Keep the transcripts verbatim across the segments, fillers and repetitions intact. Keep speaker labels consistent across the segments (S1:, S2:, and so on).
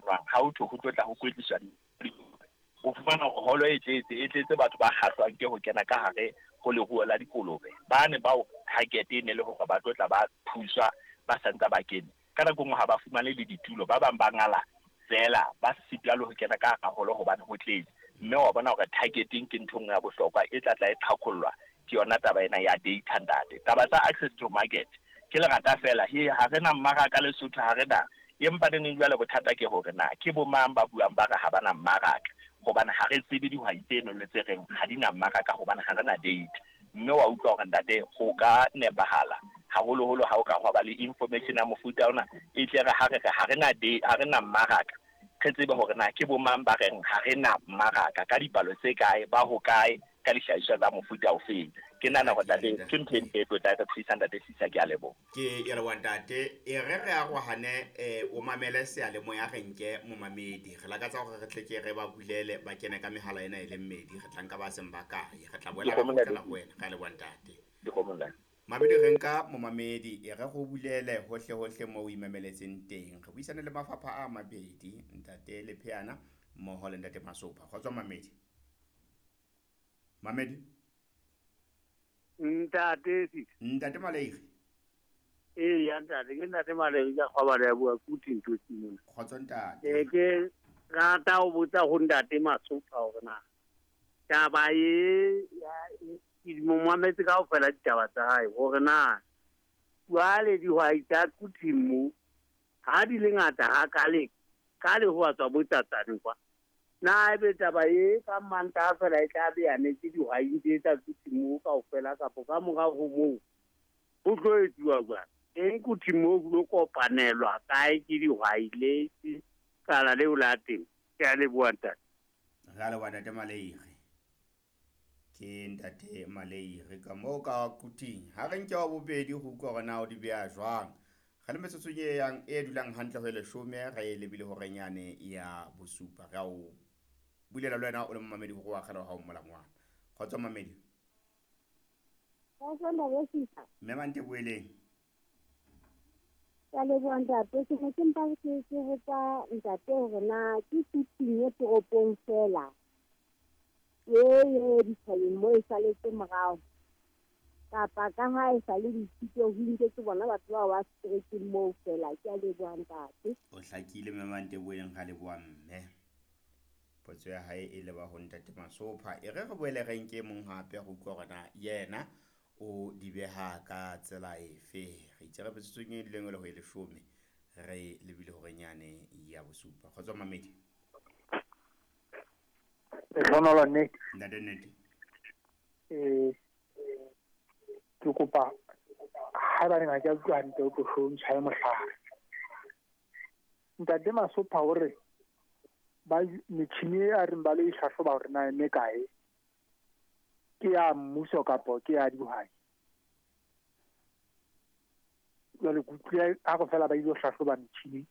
S1: kopanwang ha ho thwe ho tlo tla ho kwetliswa, o fumana holo e tletse, e tletse batho ba kgahlwang ke ho kena ka hare ho leruo la dikolobe. Ba ne bao target e ne le hore ba tlo tla ba thuswa ba santsa ba kene. Ka nako nngwe ha ba fumane le ditulo, ba bang ba ngala fela ba sitwa le ho kena ka hara holo hobane ho tletse. Mme wa bona hore targeting ke ntho e nngwe ya bohlokwa e tla tla e qhaqhollwa ke yona taba ena ya data ntate. Taba tsa access to market ke lerata fela, he ha re na mmaraka Lesotho, ha re na. Empa neneng jwale bothata ke hore na ke bo mang ba buang ba re ha ba na mmaraka, hobane ha re tsebe dihwai tseno le tse reng ha di na mmaraka hobane ha re na data. Mme wa utlwa hore ntate ho ka nepahala haholoholo ha o ka hwa ba le information ya mofuta ona, e tle re ha re re ha re na ha re na mmaraka, re tsebe hore na ke bo mang ba reng ha re na mmaraka ka dipalo tse kae, ba ho kae, ka dihlahiswa tsa mofuta ofeng. Ke nahana hore ntate ke ntho e ntle e tlo tla re thusa ntate Sisa, ke a leboha.
S2: Ke e leboha ntate. E re re arohane, eh, o mamele seyalemoya re nke momamedi. Re lakatsa hore re tle ke re ba bulele ba kene ka mehala ena e le mmedi, re tla nka ba seng ba kae. Re tla boela re kgutlela ho wena. Re a leboha ntate. Mamedi re nka momamedi, e re go bulele hohle hohle moo o imameletseng teng. Re buisane le mafapha a mabedi, ntate Lepheana mmoho le ntate Masopha. Kgotso mamedi. Mamedi.
S3: Ntate Sisa.
S2: Ntate Maleiri.
S3: Ee, ya ntate, ke ntate Maleiri ka kgwabana ya bua kuthi ntho tse mona.
S2: Kgotso ntate.
S3: Eh, ke rata ho botsa ho ntate Masopha hore na taba e ya ke mo mametse kaofela ditaba tsa hae hore na jwale dihwai tsa Quthing mo ha di le ngata hakale ka le ho tswa botsatsane kwa. Na ebe taba e ka Mantaha fela e tla be ya netse dihwai tse tsa Quthing mo kaofela kapa ka morao ho moo ho tlo etsuwa jwang? Teng Quthing mo ho lo kopanelwa kae ke dihwai le kala leo la teng? Ke a leboha ntate.
S2: Re a leboha ntate Maleiri. Ke ntate Maleiri ka moo ka Quthing. Ha re nke wa bobedi ho utlwa hore na o di beha jwang. Re le metsotsong e yang e dulang hantle ho e leshome, re e lebile horeng yane ya bosupa. Re a o bulela le wena o le momamedi hore o akgela ha o molangwana. Kgotso mamedi.
S4: Kgotso ntate Sisa.
S2: Mme Mante boeleng.
S4: Ke a leboha ntate. Ke ne ke mpa ke ke botsa ntate hore na ke Quthing e toropong fela e e dithabeng mo e saletse morao, kapa ka ha e sa le dithuto ho nketse bona batho bao ba seterekeng moo fela. Ke a leboha ntate.
S2: O hlakile mme Mante boeleng, ra leboha mme. Potso ya hae e leba ho ntate Masopha. E re re boele re nke mong hape go utlwa hore na yena o di beha ka tsela efe. Re itse re metsotsong e leng le ho e leshome, re lebile horeng yane ya bosupa. Kgotso mamedi.
S5: Lehlohonolo nnete.
S2: Ntate nnete.
S5: Eh, ke kopa haebaneng ha ke a utlwa hantle o tlo hlo ntshwaye mohlala. Ntate Masopha o re ba metjhini e a reng ba lo e hlahloba hore na e mekae, ke ya mmuso kapo ke ya dihwai? Jwale ke utlwile ha go fela ba ile ho hlahloba metjhini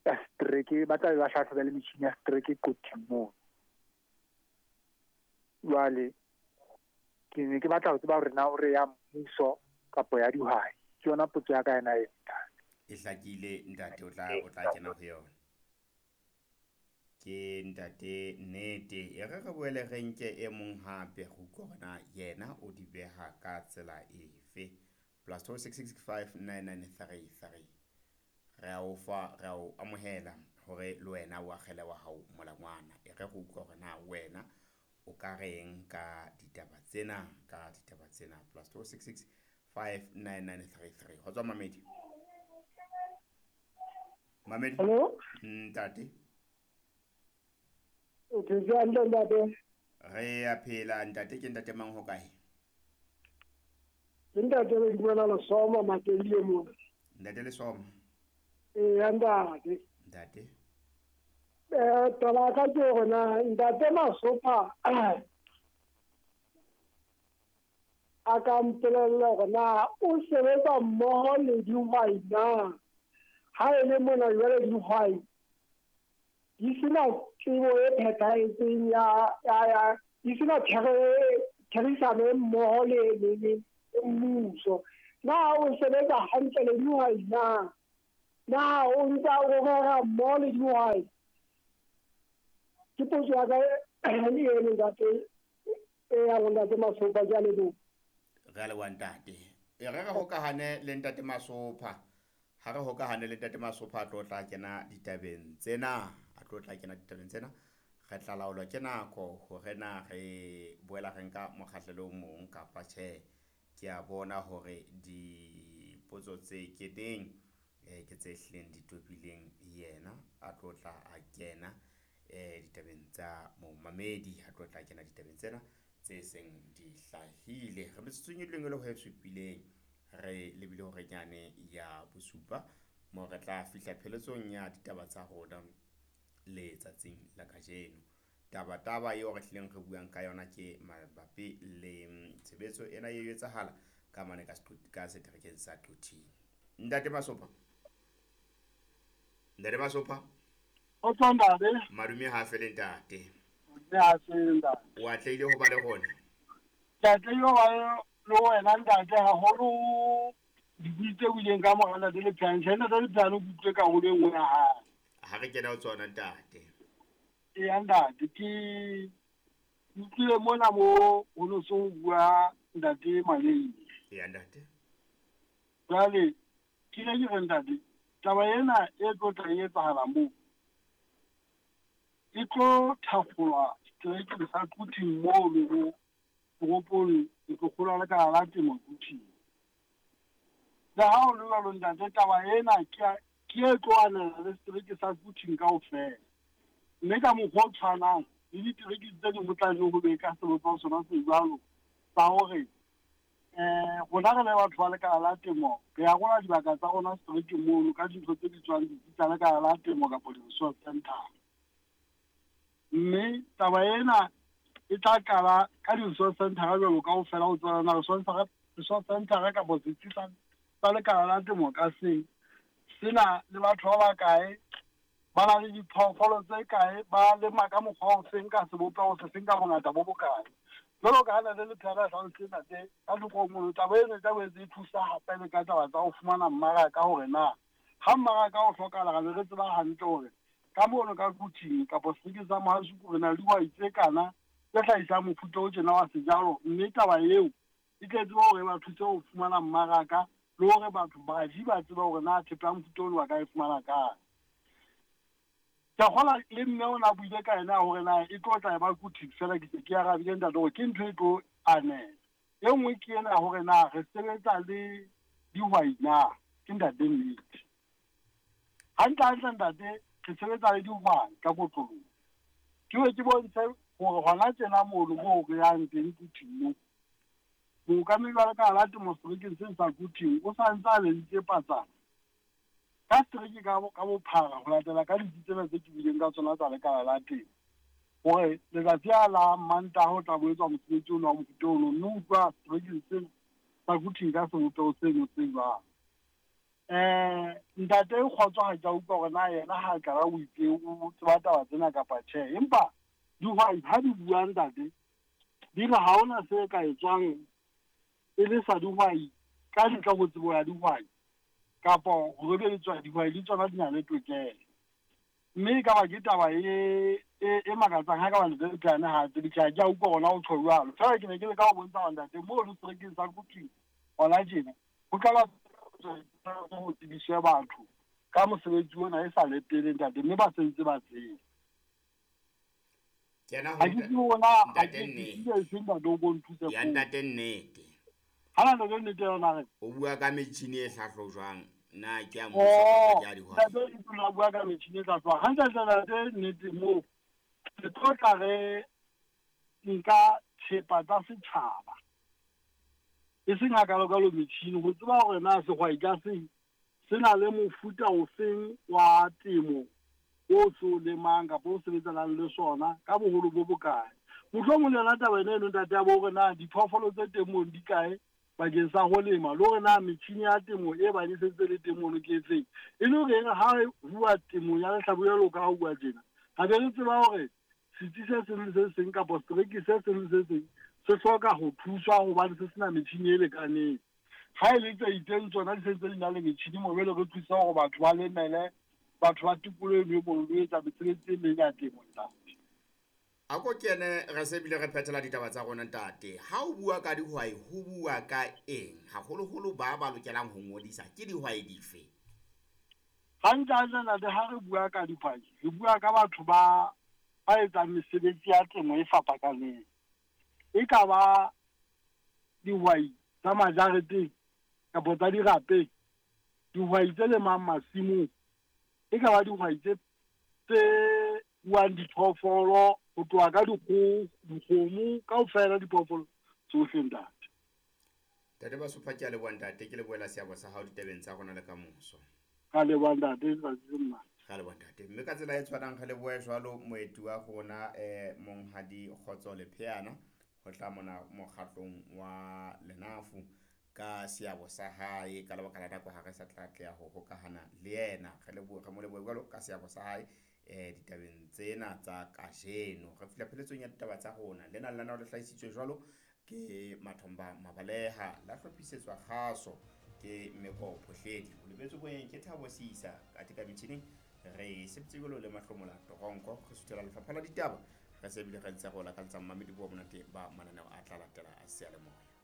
S5: ya setereke, ba tla be ba hlahloba le metjhini ya setereke Quthing moo. Jwale ke ne ke batla ho tseba hore na o re ya mmuso kapo ya dihwai. Ke yona potso ya ka ena e ntate.
S2: E hlakile ntate, o tla o tla kena ho yona. Ke ntate nnete. E re re boele re nke e mong hape go utlwa hore na yena o di beha ka tsela efe. Plus two six six five nine nine three three. Re a o fa, re a o amohela hore le wena o akgele wa hao molangwana. E re go utlwa hore na wena o ka reng ka ditaba tsena, ka ditaba tsena. Plus two six six five nine nine three three. Ho tswa mamedi. Mamedi.
S5: Hello?
S2: Ntate.
S5: O ke jwang ntate?
S2: Re a phela ntate, ke ntate mang ho kae?
S5: Ke ntate le dumela Lesoma Makelile mona.
S2: Ntate Lesoma.
S5: Ee, ntate.
S2: Ntate.
S5: Eh, taba ka ke hore na ntate Masopha a ka mpolella hore na o sebetsa mmoho le dihwai na? Ha e le mona jwale dihwai di sena tsebo e phethahetseng ya ya ya di sena therisano mmoho le le le mmuso. Na o sebetsa hantle le dihwai na? Na o ntsa o rera mmoho le dihwai? Ke potso ya ka eno ntate e ya ho ntate Masopha, ke a leboha.
S2: Re a leboha ntate. E re re hokahane le ntate Masopha. Ha re hokahane le ntate Masopha a tlo tla kena ditabeng tsena, a tlo tla kena ditabeng tsena. Re tla laolwa ke nako hore na re boela re nka mokgahlelo o mong kapa tjhe. Ke a bona hore dipotso tse keneng eh ke tse hlileng di tobileng yena a tlo tla a kena eh ditabeng tsa momamedi, a tlo tla kena ditabeng tsena tse seng di hlahile. Re metsotsong e leng e le ho e supileng re lebile hore nyane ya bosupa mo re tla fihla pheletsong ya ditaba tsa rona letsatsing la kajeno. Taba taba eo re hlileng re buang ka yona ke mabapi le tshebetso ena e etsahala ka mane ka ka seterekeng sa Quthing. Ntate Masopha. Ntate Masopha.
S5: O tswa ntate.
S2: Madume ha fele ntate.
S5: Ne ha fele ntate.
S2: O atlehile ho ba le rona.
S5: Ke atlehile ho ba le wena ntate haholo dibui tse buileng ka mora ntate Lepheane. Tjhe ntate Lepheane o utlwe karolo e nngwe ya hae.
S2: Ha re kena ho tsona ntate.
S5: Eya ntate, ke utlwile mona mo ho no so bua ntate Maleng.
S2: Eya ntate.
S5: Jwale ke ne ke re ntate, taba ena e tlo tla e etsahala moo e tlo thakgolwa seterekeng sa Quthing moo le ho toropong e tlo kgolwa le ka la temo Quthing. Le ha ho le jwalo ntate, taba ena ke ke e tlo anela le setereke sa Quthing kaofela. Mme ka mokgwa o tshwanang le ditereke tse ding ho tla nne ho be ka sebopeho sona se jwalo sa hore eh rona re le batho ba lekala la temo re arola dibaka tsa rona seterekeng mono ka dintho tse bitswang ditsi tsa lekala la temo kapa di-resource center. Mme taba ena e tla qala ka di-resource center jwalo kaofela ho tswana resource center kapa setsi sa lekala la temo ka seng sena le batho ba bakae ba na le diphoofolo tse kae, ba lema ka mokgwa o feng, ka sebopeho se feng, ka bongata bo bokae. Jwalo ka ha ntate Lepheane a hlalositse ntate ka thoko ho mono, taba ena e tla boetse e thusa hape le ka taba tsa ho fumana mmaraka hore na ha mmaraka o hlokahala re be re tseba hantle hore ka mono ka Quthing kapa seterekeng sa Mohale's re na le dihwai tse kana tse hlahisang mofuta o tjena wa sejalo, mme taba eo e tle tsebe hore e ba thuse ho fumana mmaraka le hore batho baji ba tsebe hore na thepa ya mofuta ono ba ka e fumana kae. Ke a kgolwa le mme o na buile ka yena hore na e tlo tla e ba Quthing fela, ke se ke arabile ntate hore ke ntho e tlo anela. E nngwe ke ena hore na re sebetsa le dihwai na, ke ntate nnete. Hantle hantle ntate re sebetsa le dihwai ka kotloloho. Ke be ke bontshe hore hona tjena mono moo re yang teng Quthing moo, mookamedi wa lekala la temo seterekeng sena sa Quthing o sa ntse a leditse patsana ka setereke ka bophara ho latela ka ditsi tsena tse ke buileng ka tsona tsa lekala la temo hore letsatsi a la Mantaha ho tla bo etswa mosebetsi ono wa mofuta ono, mme o utlwa seterekeng sena sa Quthing ka sebopeho seno se jwalo. Eh ntate Kgotso ha ke a utlwa hore na yena ha qala o itse o tseba taba tsena kapa tjhe, empa dihwai ha di bua ntate di re ha hona se ka etswang e le sa dihwai ka ntle ho tsebo ya dihwai kapa ho rebeletswa dihwai le tsona di na le tokelo. Mme e ka ba ke taba e e makatsang ha ka ba ntate Lepheane ha tsebe tjhe, ha ke a utlwa hona ho tjho jwalo. Feela ke ne ke leka ho bontsha hore ntate moo le seterekeng sa Quthing hona tjena ho tla ba ho tsebiswe batho ka mosebetsi ona e sa le pele ntate, mme ba sentse ba tseba.
S2: Kena ho
S5: Ha ke tsebe hore na ha
S2: ntate
S5: ke
S2: nnete.
S5: tsebe e seng ntate o ko nthuse
S2: Ya
S5: foo.
S2: ntate nnete.
S5: Ha na ntate nnete yona re.
S2: O bua ka metjhini e hlahlojwang, na ke ya mmuso kapa
S5: Oh,
S2: ke ya dihwai?
S5: ntate e tlo bua ka metjhini e hlahlojwang. Hantle hantle ntate nnete moo re tlo tla re nka thepa tsa setjhaba e seng hakalo-kalo metjhini, ho tseba hore na sehwai ka seng se na le mofuta ofeng wa temo o se o lemang kapa o sebetsanang le sona ka boholo bo bokae. Mohlomong le yona taba ena eno ntate ya bo hore na diphoofolo tse teng mono di kae bakeng sa ho lema, le hore na metjhini ya temo e bang e sentse le teng mono ke efeng, e le hore ha re bua temong ya lehlabula jwalo ka ha ho bua tjena, re be re tseba hore setsi se seng le se seng kapa setereke se seng le se seng se hloka ho thuswa hobane se sena metjhini e lekaneng. Ha e le tse itseng tsona di sentse di na le metjhini mo jwale re thusa hore batho ba lemele, batho ba tikoloho eno e mono le etsa mesebetsi e meng ya temo ntate.
S2: A ko kene re se bile re phethela ditaba tsa rona ntate. Ha o bua ka dihwai ho bua ka eng? Haholoholo ba ba lokelang ho ngodisa ke dihwai dife?
S5: Hantle hantle ntate, ha re bua ka dihwai, re bua ka batho ba ba etsang mesebetsi ya temo e fapakaneng. E ka ba dihwai tsa majareteng kapa tsa dirapeng, dihwai tse lemang masimong, e ka ba dihwai tse tse ruang diphoofolo ho tloha ka dikgoho, dikgomo, kaofela diphoofolo tsohle ntate.
S2: Ntate Masopha, ke a leboha ntate, ke lebohela seabo sa hao ditabeng tsa rona le kamoso.
S5: Ka leboha ntate, letsatsi le monate.
S2: Ra leboha ntate. Mme ka tsela e tshwanang re lebohe jwalo moeti wa rona eh Monghadi Kgotso Lepheana ho tla mona mokgatlong wa Lenafu ka seabo sa hae. Ka lebaka la nako ha re sa tla atleha ho hokahana le yena. Re lebohe, re mo lebohe jwalo ka seabo sa hae eh ditabeng tsena tsa kajeno. Re fihla pheletsong ya ditaba tsa rona. Lena lenaneo le hlahisitswe jwalo ke Mathomba Mabaleha, la hlophisetswa kgaso ke Meko Phohledi. O lebetse boyeng ke Thabo Sisa, athe ka metjhining re sebetse jwalo le Mahlomola Toronko. Re suthela lefapha la ditaba, re se bile re ntse re o lakaletsa mmamedi bo monate ba mananeo a tla latela a seyalemoya.